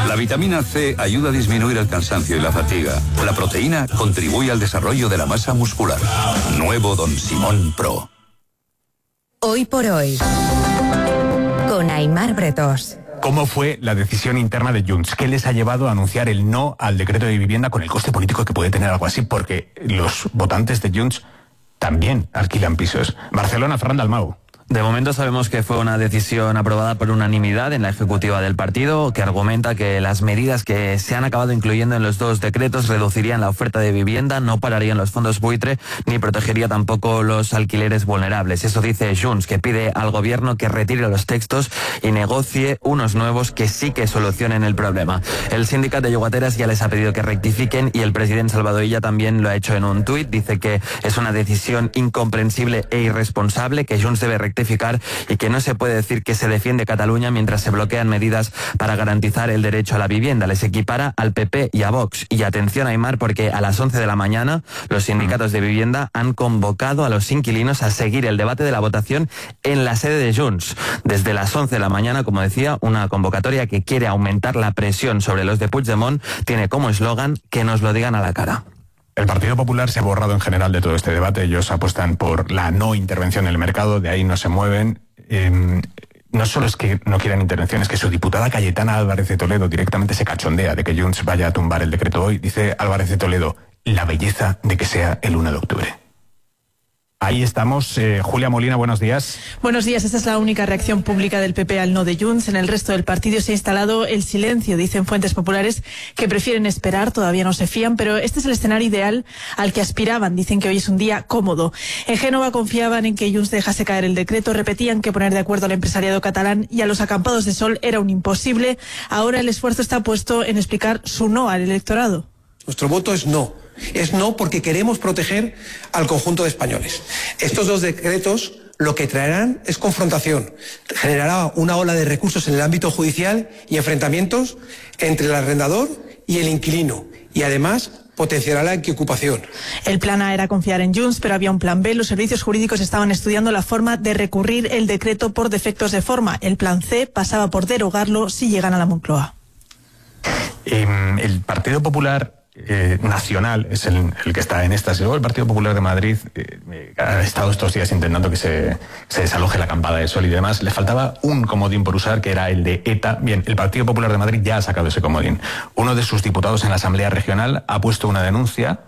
La vitamina C ayuda a disminuir el cansancio y la fatiga. La proteína contribuye al desarrollo de la masa muscular. Nuevo Don Simón Pro. Hoy por hoy, con Aimar Bretós. ¿Cómo fue la decisión interna de Junts? ¿Qué les ha llevado a anunciar el no al decreto de vivienda con el coste político que puede tener algo así? Porque los votantes de Junts también alquilan pisos. Barcelona, Ferran Dalmau. De momento sabemos que fue una decisión aprobada por unanimidad en la ejecutiva del partido, que argumenta que las medidas que se han acabado incluyendo en los dos decretos reducirían la oferta de vivienda, no pararían los fondos buitre, ni protegería tampoco los alquileres vulnerables. Eso dice Junts, que pide al gobierno que retire los textos y negocie unos nuevos que sí que solucionen el problema. El sindicato de llogateras ya les ha pedido que rectifiquen y el presidente Salvador Illa también lo ha hecho en un tuit. Dice que es una decisión incomprensible e irresponsable, que Junts debe rectificar y que no se puede decir que se defiende Cataluña mientras se bloquean medidas para garantizar el derecho a la vivienda. Les equipara al PP y a Vox. Y atención, Aimar, porque a las 11 de la mañana los sindicatos de vivienda han convocado a los inquilinos a seguir el debate de la votación en la sede de Junts. Desde las 11 de la mañana, como decía, una convocatoria que quiere aumentar la presión sobre los de Puigdemont tiene como eslogan que nos lo digan a la cara. El Partido Popular se ha borrado en general de todo este debate. Ellos apuestan por la no intervención en el mercado, de ahí no se mueven. No solo es que no quieran intervención, es que su diputada Cayetana Álvarez de Toledo directamente se cachondea de que Junts vaya a tumbar el decreto hoy. Dice Álvarez de Toledo, la belleza de que sea el 1 de octubre. Ahí estamos. Julia Molina, buenos días. Buenos días. Esta es la única reacción pública del PP al no de Junts. En el resto del partido se ha instalado el silencio. Dicen fuentes populares que prefieren esperar, todavía no se fían, pero este es el escenario ideal al que aspiraban. Dicen que hoy es un día cómodo. En Génova confiaban en que Junts dejase caer el decreto, repetían que poner de acuerdo al empresariado catalán y a los acampados de sol era un imposible. Ahora el esfuerzo está puesto en explicar su no al electorado. Nuestro voto es no. Es no porque queremos proteger al conjunto de españoles. Estos dos decretos lo que traerán es confrontación. Generará una ola de recursos en el ámbito judicial y enfrentamientos entre el arrendador y el inquilino. Y además potenciará la ocupación. El plan A era confiar en Junts, pero había un plan B. Los servicios jurídicos estaban estudiando la forma de recurrir el decreto por defectos de forma. El plan C pasaba por derogarlo si llegan a la Moncloa. El Partido Popular Nacional es el que está en estas. Luego el Partido Popular de Madrid ha estado estos días intentando que se desaloje la acampada de sol y demás. Le faltaba un comodín por usar, que era el de ETA. Bien, el Partido Popular de Madrid ya ha sacado ese comodín. Uno de sus diputados en la Asamblea Regional ha puesto una denuncia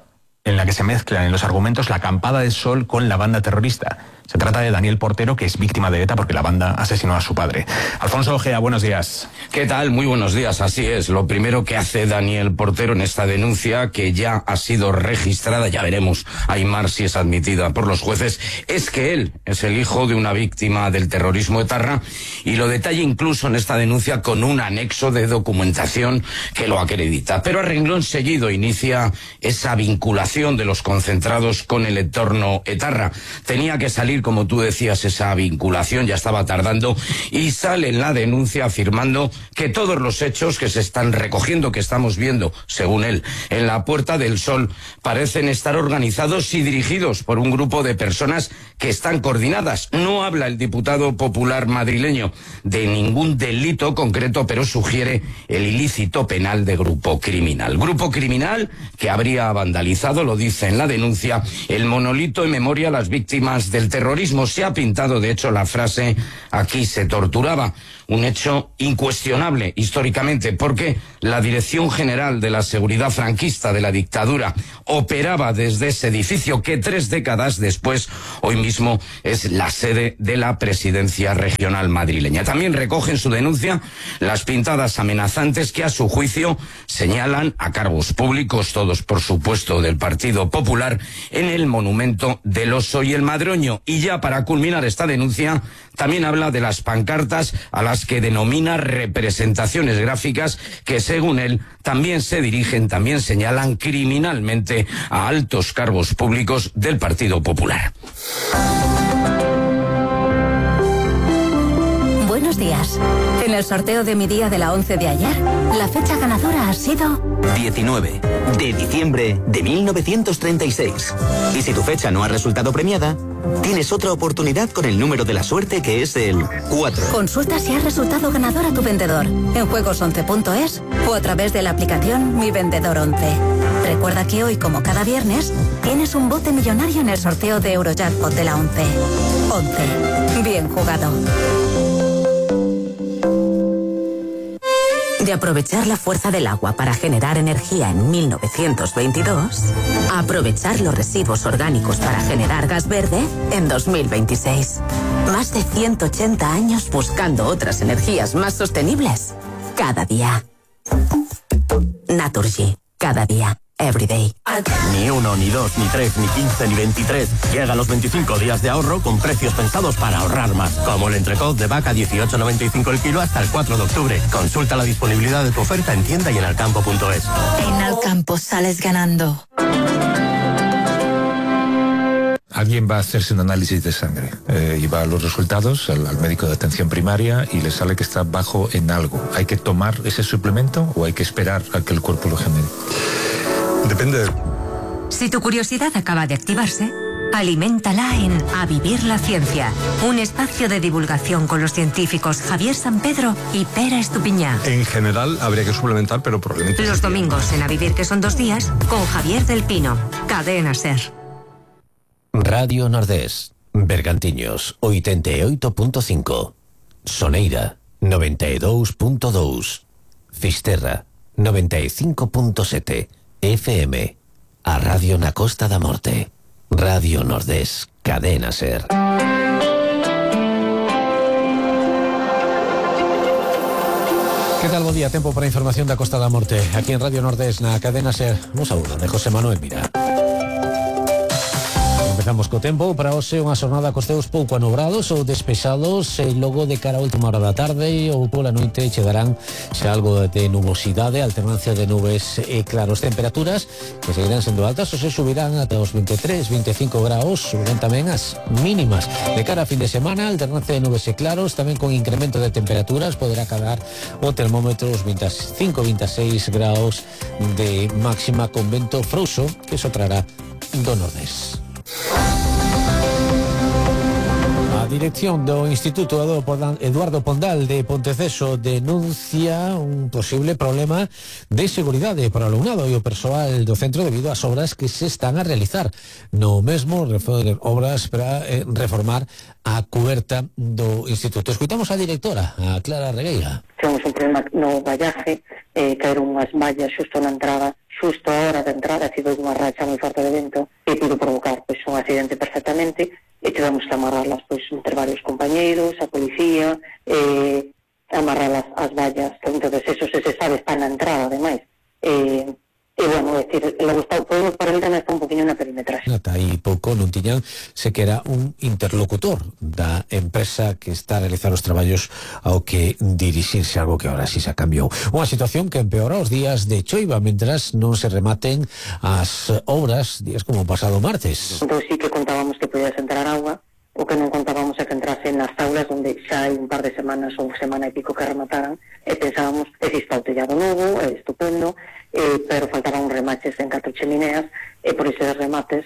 en la que se mezclan en los argumentos la acampada de sol con la banda terrorista. Se trata de Daniel Portero, que es víctima de ETA porque la banda asesinó a su padre. Alfonso Ojea, buenos días. ¿Qué tal? Muy buenos días, así es. Lo primero que hace Daniel Portero en esta denuncia, que ya ha sido registrada, ya veremos, Aimar, si es admitida por los jueces, es que él es el hijo de una víctima del terrorismo etarra, y lo detalla incluso en esta denuncia con un anexo de documentación que lo acredita. Pero a renglón seguido inicia esa vinculación de los concentrados con el entorno etarra. Tenía que salir, como tú decías, esa vinculación, ya estaba tardando, y sale en la denuncia afirmando que todos los hechos que se están recogiendo, que estamos viendo, según él, en la Puerta del Sol, parecen estar organizados y dirigidos por un grupo de personas que están coordinadas. No habla el diputado popular madrileño de ningún delito concreto, pero sugiere el ilícito penal de grupo criminal. Grupo criminal que habría vandalizado, lo dice en la denuncia, el monolito en memoria a las víctimas del terrorismo. Se ha pintado, de hecho, la frase "aquí se torturaba", un hecho incuestionable históricamente, porque la Dirección General de la Seguridad Franquista de la dictadura operaba desde ese edificio que 3 décadas después, hoy mismo, es la sede de la Presidencia Regional madrileña. También recoge en su denuncia las pintadas amenazantes que, a su juicio, señalan a cargos públicos, todos por supuesto del Partido Popular, en el monumento del Oso y el Madroño. Y ya para culminar esta denuncia, también habla de las pancartas a las que denomina representaciones gráficas que, según él, también se dirigen, también señalan criminalmente a altos cargos públicos del Partido Popular. Buenos días. En el sorteo de mi día de la 11 de ayer, la fecha ganadora ha sido 19 de diciembre de 1936. Y si tu fecha no ha resultado premiada, Tienes otra oportunidad con el número de la suerte, que es el 4. Consulta si has resultado ganador a tu vendedor en juegos11.es o a través de la aplicación Mi Vendedor 11. Recuerda que hoy, como cada viernes, tienes un bote millonario en el sorteo de Eurojackpot de la 11. 11. Bien jugado. De aprovechar la fuerza del agua para generar energía en 1922, a aprovechar los residuos orgánicos para generar gas verde en 2026. Más de 180 años buscando otras energías más sostenibles. Cada día. Naturgy. Cada día. Everyday. Ni 1, ni 2, ni 3, ni 15, ni 23. Llega los 25 días de ahorro con precios pensados para ahorrar más. Como el entrecot de vaca 18,95 el kilo hasta el 4 de octubre. Consulta la disponibilidad de tu oferta en tienda y en alcampo.es. En Alcampo sales ganando. Alguien va a hacerse un análisis de sangre y va a los resultados al médico de atención primaria y le sale que está bajo en algo. ¿Hay que tomar ese suplemento o hay que esperar a que el cuerpo lo genere? Depende. Si tu curiosidad acaba de activarse, aliméntala en A Vivir la Ciencia, un espacio de divulgación con los científicos Javier Sampedro y Pera Estupiñá. En general habría que suplementar, pero probablemente... Los domingos en A Vivir, que son 2 días, con Javier del Pino. Cadena SER. Radio Nordés, Bergantiños, 88.5, Soneira, 92.2, Fisterra, 95.7, FM, a Radio na Costa da Morte, Radio Nordés, Cadena SER. Que tal, bo día, tempo para a información da Costa da Morte, aquí en Radio Nordés, na Cadena SER. Un saúdo de José Manuel Mira. Empezamos co tempo. Para hoxe unha xornada cos teus pouco anobrados ou despexados, e logo de cara a última hora da tarde ou pola noite chegarán xa algo de nubosidade, alternancia de nubes e claros. Temperaturas que seguirán sendo altas ou se subirán ata os 23, 25 graus, subirán tamén as mínimas. De cara a fin de semana, alternancia de nubes e claros, tamén con incremento de temperaturas, poderá cadar o termómetro os 25, 26 graus de máxima, con vento frouxo que sotrará do nordés. A dirección do Instituto Eduardo Pondal de Ponteceso denuncia un posible problema de seguridade para o alumnado e o persoal do centro debido ás obras que se están a realizar. No mesmo, obras para reformar a cuberta do Instituto. Escuitamos a directora, a Clara Regueira. Temos un problema no vallaje, caeron unhas mallas xusto na entrada, xusto a hora de entrada, ha sido unha racha moi forte de vento e pudo provocar un accidente perfectamente, e tivemos que amarrarlas entre varios compañeiros, a policía, amarrarlas as vallas, entonces eso se sabe, está na entrada ademais. E bueno, é dicir, logo está, podemos por el tema está un poquinho na perimetraxe. Ata aí pouco non tiñan sequera un interlocutor da empresa que está a realizar os traballos ao que dirixirse, algo que ahora sí se cambiou. Unha situación que empeora os días de choiva, mentras non se rematen as obras, días como o pasado martes. Entón sí que contábamos que podías entrar agua, o que non contábamos é que entrase nas aulas onde xa hai un par de semanas ou semana e pico que remataran, e pensábamos que si está o tellado novo, é estupendo, pero faltaban remaches en 4 chemineas, e por eses remates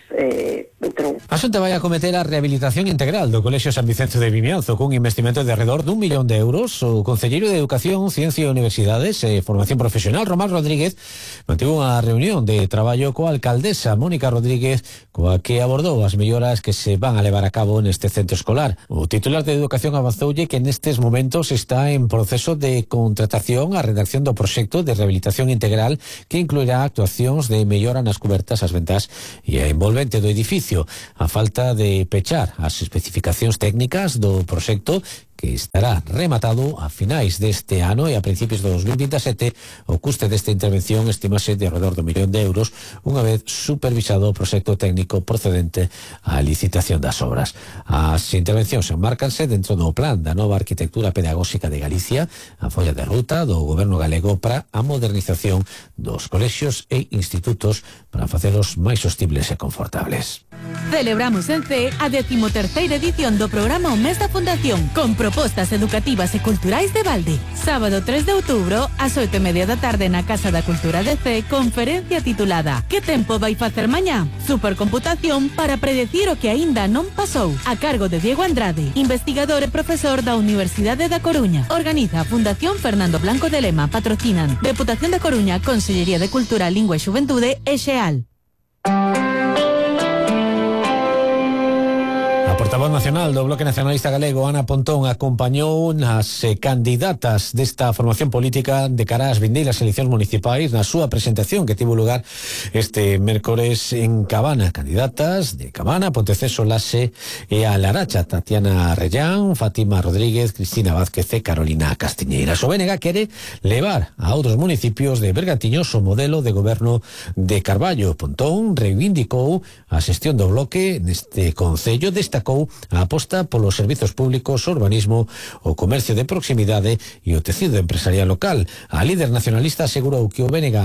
entrou. A Xunta vai acometer a rehabilitación integral do Colexio San Vicente de Vimianzo cun investimento de alrededor d'1 millón de euros. O concelleiro de Educación, Ciencia e Universidades e Formación Profesional, Román Rodríguez, mantivo unha reunión de traballo coa alcaldesa Mónica Rodríguez, coa que abordou as melloras que se van a levar a cabo neste centro escolar. O titular de Educación avanzoulle que nestes momentos está en proceso de contratación a redacción do proxecto de rehabilitación integral que incluirá actuacións de mellora nas cubertas, as ventas e a envolvente do edificio. A falta de pechar as especificacións técnicas do proxecto, que estará rematado a finais deste ano e a principios de 2027, o custe desta intervención estimase de alrededor do 1 millón de euros, unha vez supervisado o proxecto técnico procedente á licitación das obras. As intervencións enmárcanse dentro do plan da nova arquitectura pedagóxica de Galicia, a folla de ruta do goberno galego para a modernización dos colexios e institutos para facelos máis sostibles e confortables. Celebramos en CEE a 13ª edición do programa O Mes da Fundación, con propostas educativas e culturais de balde. Sábado 3 de outubro, ás 8:30 da tarde na Casa da Cultura de CEE, conferencia titulada Que tempo vai facer mañá? Supercomputación para predecir o que aínda non pasou. A cargo de Diego Andrade, investigador e profesor da Universidade da Coruña. Organiza a Fundación Fernando Blanco de Lema. Patrocinan Deputación da Coruña, Consellería de Cultura, Lingua e Xuventude e XEAL. A portavoz nacional do Bloque Nacionalista Galego, Ana Pontón, acompañou nas candidatas desta formación política de cara ás vindeiras eleccións municipais na súa presentación que tivo lugar este mércores en Cabana. Candidatas de Cabana, Ponteceso, Lase e a Laracha: Tatiana Rellán, Fátima Rodríguez, Cristina Vázquez e Carolina Castiñeira. O BNG quere levar a outros municipios de Bergantiños o modelo de goberno de Carballo. Pontón reivindicou a xestión do Bloque neste concello, destacou a aposta polos servizos públicos, o urbanismo, o comercio de proximidade e o tecido empresarial local. A líder nacionalista asegurou que o BNG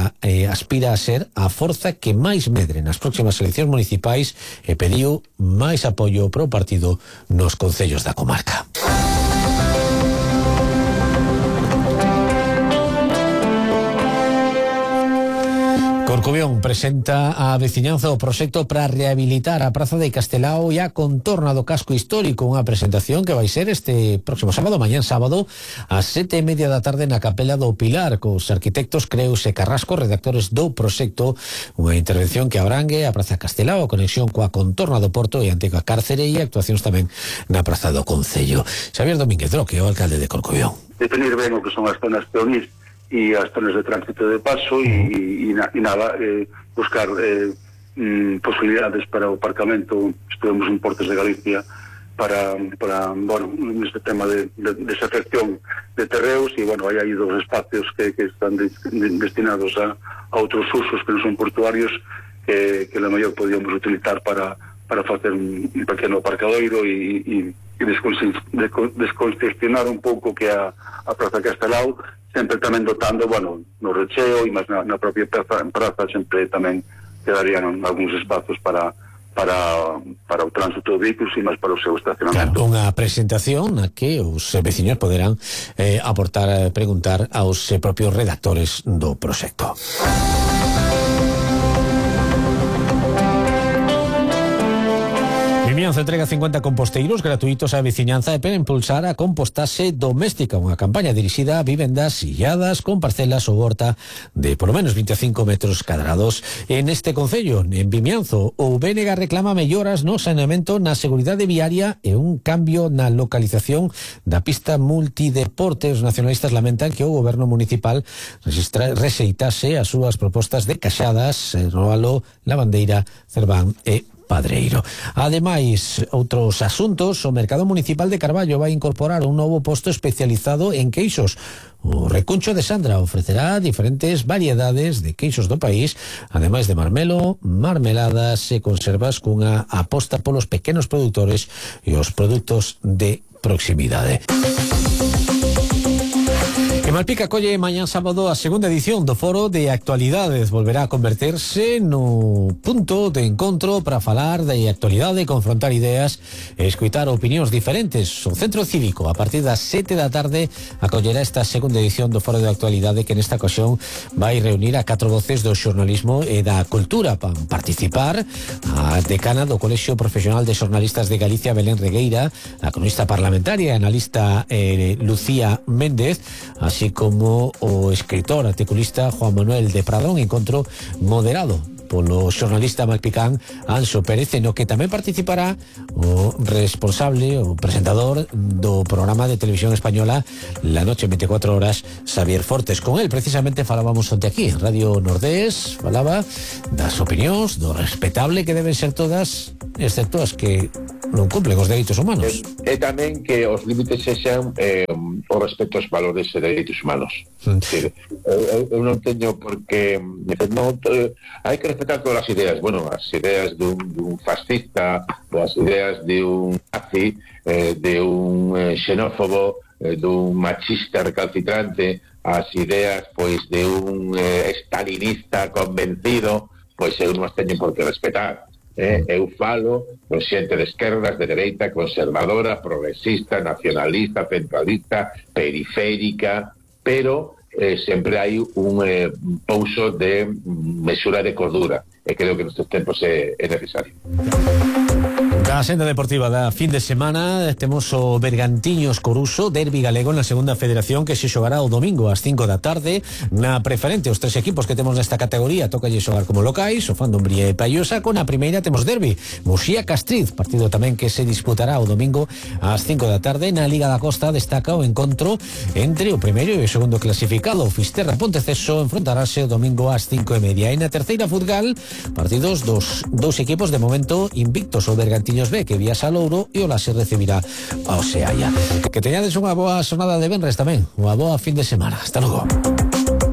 aspira a ser a forza que máis medre nas próximas eleccións municipais e pediu máis apoio para o partido nos concellos da comarca. Corcubión presenta a veciñanza o proxecto para rehabilitar a Praza de Castelao e a contorna do casco histórico, unha presentación que vai ser este próximo sábado, mañán sábado, ás 7:30 da tarde na Capela do Pilar, cos arquitectos Creus e Carrasco, redactores do proxecto, unha intervención que abrangue a Praza Castelao, a conexión coa contorna do Porto e a antiga cárcere e actuacións tamén na Praza do Concello. Xavier Domínguez Droque, o alcalde de Corcubión. Definir ben o que son as zonas peonís e as zonas de tránsito de paso e nada, buscar posibilidades para o aparcamento. Estuvemos en Portos de Galicia para bueno, neste tema de desafección de terreos e, bueno, hai aí dos espacios que están destinados a outros usos que non son portuarios que a mellor podíamos utilizar para facer un pequeno aparcadoiro e descongestionar un pouco que a Praza Castelao, sempre tamén dotando, bueno, no recheo e máis na propia praza sempre tamén quedarían algúns espazos para o tránsito de vehículos e máis para o seu estacionamento. Claro, unha presentación na que os veciños poderán aportar, preguntar aos propios redactores do proxecto. Vimianzo entrega 50 composteiros gratuitos á veciñanza e para impulsar a compostaxe doméstica, unha campaña dirixida a vivendas illadas con parcelas ou horta de polo menos 25 metros cadrados. En este concello, en Vimianzo, o BNG reclama melloras no saneamento, na seguridade viaria e un cambio na localización da pista multideporte. Os nacionalistas lamentan que o goberno municipal rexeitase as súas propostas de Caxadas, Roalo, Lavandeira, Cerván e Padreiro. Ademais, outros asuntos: o Mercado Municipal de Carballo vai incorporar un novo posto especializado en queixos. O Recuncho de Sandra ofrecerá diferentes variedades de queixos do país, ademais de marmelo, marmeladas e conservas, cunha aposta polos pequenos produtores e os produtos de proximidade. Que Malpica colle mañán sábado a segunda edición do Foro de Actualidades. Volverá a converterse no punto de encontro para falar de actualidade, confrontar ideas e escutar opinións diferentes. O Centro Cívico, a partir das 7 da tarde, acollerá esta segunda edición do Foro de Actualidade, que nesta ocasión vai reunir a 4 voces do xornalismo e da cultura. Para participar a decana do Colexio Profesional de Xornalistas de Galicia, Belén Regueira, a cronista parlamentaria e analista Lucía Méndez, así como o escritor articulista Juan Manuel de Pradón. Encontro moderado polo xornalista malpicán Anxo Pérez, no que tamén participará o responsable, o presentador do programa de televisión española La Noche en 24 horas, Xavier Fortes. Con él precisamente falábamos onte aquí en Radio Nordés, falaba das opinións, do respetable que deben ser todas, excepto as que non cumplen os dereitos humanos. E tamén que os límites sexan o respecto aos valores e dereitos humanos. Eu non teño porque hai que respetar todas as ideas. Bueno, as ideas dun fascista, as ideas de un nazi, de un xenófobo, dun machista recalcitrante, as ideas pois de un stalinista convencido, pois eu non as teño por que respetar. Eu falo con xente de esquerdas, de dereita, conservadora, progresista, nacionalista, centralista, periférica, pero sempre hai un pouso de mesura de cordura, e creo que nestes tempos é necesario. Da senda deportiva da fin de semana temos o Bergantiños Coruso, derbi galego na segunda federación, que se xogará o domingo ás 5 da tarde. Na preferente, os tres equipos que temos nesta categoría tocalle xogar como locais, o Fan Dumbría e Paiosa. Con a primeira temos derbi Muxía Castriz, partido tamén que se disputará o domingo ás 5 da tarde. Na Liga da Costa destaca o encontro entre o primeiro e o segundo clasificado, o Fisterra Ponteceso, enfrontarase o domingo ás 5:30. E na terceira futgal, partidos dos dous equipos de momento invictos, o Bergantiños B, que viaxa a Louro, e o Laxe recibirá ao Seaia. Que teñades unha boa xornada de venres tamén, unha boa fin de semana. Hasta logo.